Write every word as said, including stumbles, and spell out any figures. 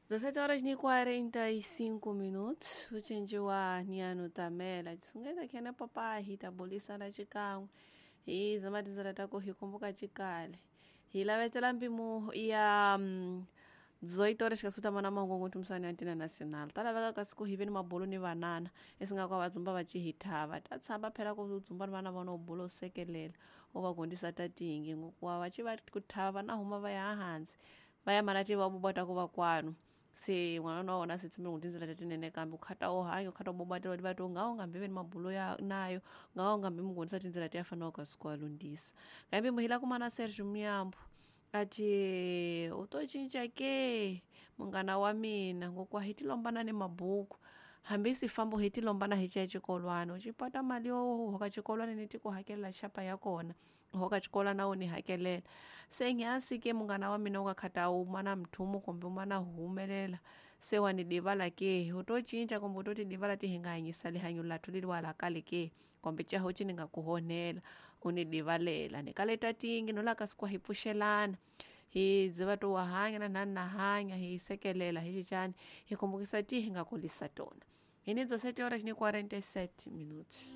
dezessete horas e quarenta e cinco minutos ucinjiwa ni tamela cisungeta khene papai hi ta bulisana xikan'we hi zama tindzela ta ku hi kumbuka xikale hi lavetela mpimo ya mm, dezoito horas xikasuta mana mahungu ntumisani ya ntina nacional ta laveka kasi ku hi ve ni mabulo ni vanana esinga kwa vadzumba va ci hi thava ta tshamba phela ku dzumba ni vana vona u bulo u sekelela u va gondisa ta tingi ngokuwa va ci va ku thava na huma va ya hansi va ya mana ti va bobota ku va kwanu se n'wana wa wona se tshembele ku tindzela ta tinene kambe u khata u hanya u khata u bobatela va to nga u nga mbi ve ni mabulo ya nayo nga u nga mbi mu gondisa tindzela ti ya fanaka kasi ku lundzisa kambe mu hila kuma na Sergio Miyambo ati u to cinca ke munghana wa mina ngokuwa hi ti lombana ni mabuku hambi si fambo hi ti lombana hi ciya xikolwana u cipata mali yo hoka xikolwana ni ti ku hakelela xapa ya kona u hoka xikolwana u ni hakelela se nyansi ke munghana wa mina u nga khata u mana mthumu kumbe u mana humelela se wa ni divala ke u to cinca kumbe u to ti divala ti hi nga hanyisa lihanyo lathu leliwa la kale ke kumbe caho ci ni nga ku honela u ni divalela ni kaleta tingi no la kasi ku hi pfuxelana hi dziva to wa hanya na nani na hanya hi sekelela hi cicani hi kumbukisa ti hi nga kulisa tona hi ni dezessete horas ni quarenta e sete minutos.